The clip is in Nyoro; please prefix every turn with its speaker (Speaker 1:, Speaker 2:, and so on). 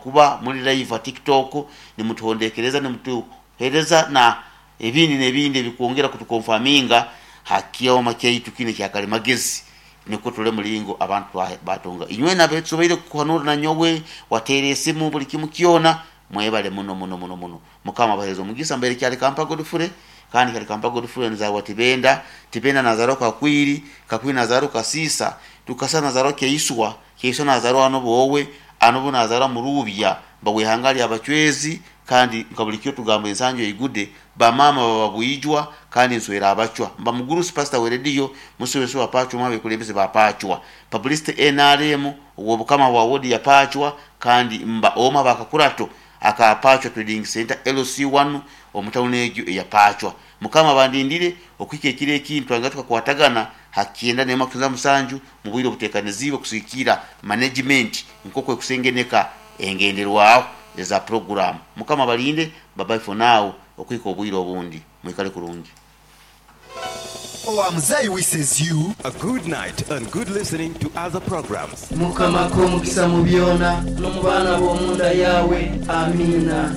Speaker 1: Okuba muli live ha TikTok nimutuhondekereza, nimutuhereza na ebindi n'ebindi ebikwongera kutukonfaminga ha kyoma kyaitu kinu ekya kalimagezi, nukwo turole mulingo abantu batunga. Inywena abetusoboire kuhanura nanyowe, wateera esimu, buli kimu kyona, mwebale muno muno muno muno. Mukama abahereze omugisa. Mbaire Kyalikampa Godfrey, kandi Kyalikampa Godfrey nzarwa Tibenda, Tibenda nazarwa Kakwiri, Kakwiri nazarwa Kasiisa, Tukasa nazarwa Kyaiswa, Kyaiswa nazarwa Anobowe, Anobo nazarwa Murubya, mba w'ihanga ly'Abacwezi, kandi nka buli kiro tugamba ensanju eigude, bamaama baba Bwijwa, kandi nswera Abacwa. Mba mugurusi pasita w'erediyo, musubesi wa Pacwa, omu h'abekulembeze ba Pacwa. Publicity NRM, ow'obukama bwa wodi ya Pacwa, kandi mba omu h'abakakurato aka Pacwa Trading Centre LC1 omu tawuni egyo eya Pacwa. Mukama abandindire okuhika ekiro ekindi twangire tukakwatagana ha 97 mu bwire obuteekaniziibwe kusigikirra management nk'oku ekusengeneka engenderwaho eza puroguraamu. Mukama abalinde. Bye bye for now okuhika obwire obundi. Mwikale kurungi.
Speaker 2: Owa Muzei wishes you.
Speaker 3: A good night and good listening to other programs.
Speaker 4: Mukama akuhe omugisa mu byona, n'omu baana ab'omu nda yaawe. Amiina.